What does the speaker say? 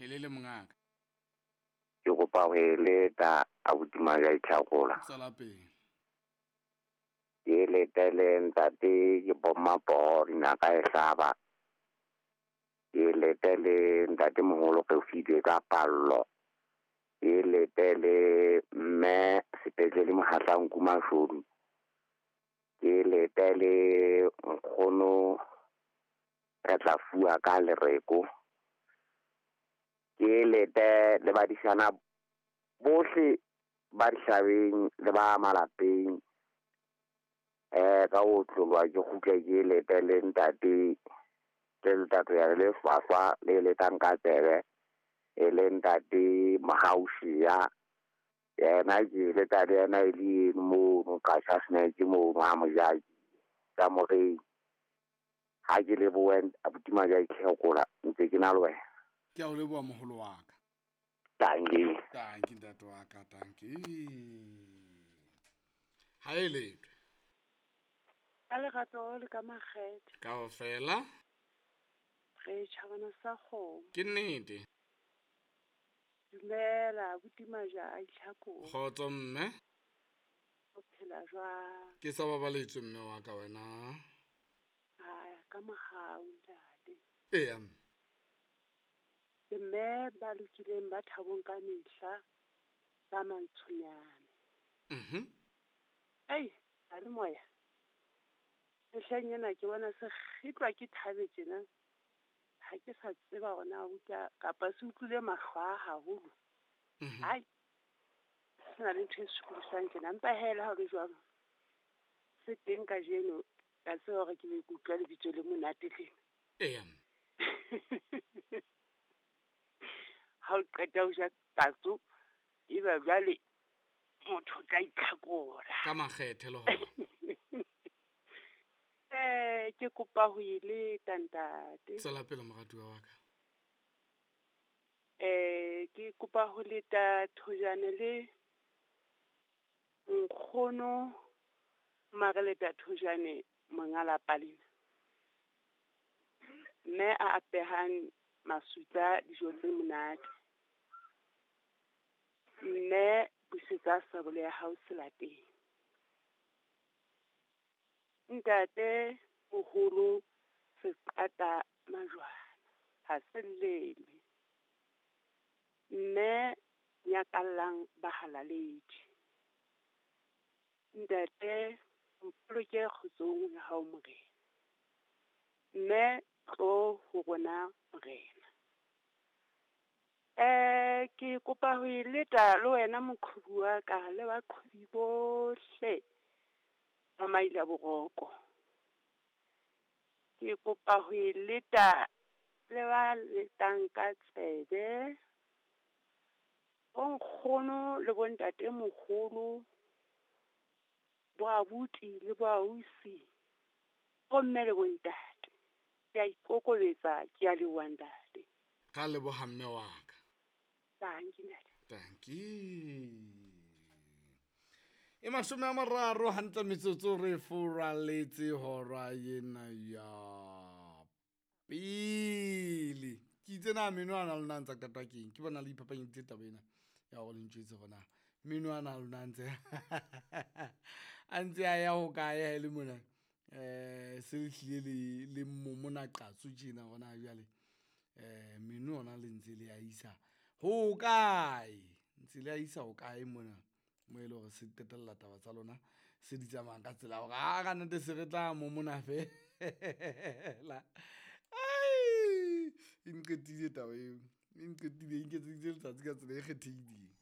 Helele mongaka. Ke kopa ho e leta abuti Maja Itlhakola. Tswela pele. Ke letele ntate ke bommapoho dinaka e hlaba. Ke letele ntate moholo re filwe ka pallo. Ke letele mme sepetlele Mohatlanku Mashodu. Ke letele nkgono re tla fuwa ka lereko. Ke lete le badisana bohle ba dihlabeng le ba malapeng. Ka ho tlolwa ke kgutle ke lete le ntate le ntate ya le hlwahlwa le letang ka tsebe e le ntate Mohaushia yena ke leta le yena e le eno mono Qacha Snack mono ha Mojaki ka moreng. Ha ke lebohe abuti Maja Itlhekola ntse ke na le wena. Ke a o leboha moholo wa ka. Tanki. Tanki ntate wa ka, tanki. Ha e letwe. Ka lerato le ka makgethe. Kaofela. Re tjhabana sa kgomo. Ke nnete. Dumela abuti Maja Itlhakola. Kgotso mme. O phela jwang? Ke sa babaletswe mme wa ka wena. Ai, ka mohau ntate. Eya. Ke mme ba lokileng ba thabong ka mehla ba mantshonyane. Ei, a le moya. Mehleng ena ke bona se kgitlwa ke thabe tjena. Ha ke sa tseba hore na utlwa kapa se utlwile mahlwa haholo. Ai, se na le ntho e sokodisang tjena. Empa hee le ha ho le jwalo, se teng kajeno, ka tseba hore ke be ke utlwa lebitso le monate lena. Eya. Ha o qeta ho ja tatso, ebe jwale motho o tla itlhakola. Ka makgethe le hona. Ke kopa ho e leta ntate. Tswela pele moratuwa wa ka. Ke kopa ho leta Thojane le nkgono Mareleta Thojane monga lapa lena. Mme a apehang masutsa dijo tse monate. Mme busetsa sabole ya hao selateng. Ntate moholo seqata majwana ha se llelwe. Mme nyakallang bahalaledi. Ntate mpoloke kgotsong ya hao morena. Mme tlo ho rona morena. Ke kopa ho e leta le wena moqhobi wa ka le baqhobi bohle ba maila boroko. Ke kopa ho e leta le ba letang ka tsebe. Bonkgono le bontate moholo, bo abuti le bo ausi, bomme le bontate. Ke a ikokobetsa, ke a leboha ntate. Ka leboha mme wa ka. Tanki ntate. Tanki. E 30 hantle metsotso re furaletse hora ena ya pele. Ke itse na meno ana lona ntse qetwa keng? Ke bona le iphapanyeditse taba ena ya hore le ntjwetse hore na meno ana lona ntse a ntse a ya ho kae ha e le mona. Se le hlile le momona qatso tjena hona jwale. Meno ona le ntse le a isa ho kae? Ntse le a isa ho kae mona? Mo e le hore se qetella taba tsa lona se di tsamayang ka tsela hore a ka nnete se re tla momona fela. Ai, e nqetile taba eo. E nqetile, e nketseditse letsatsi ka tsela e kgethehileng.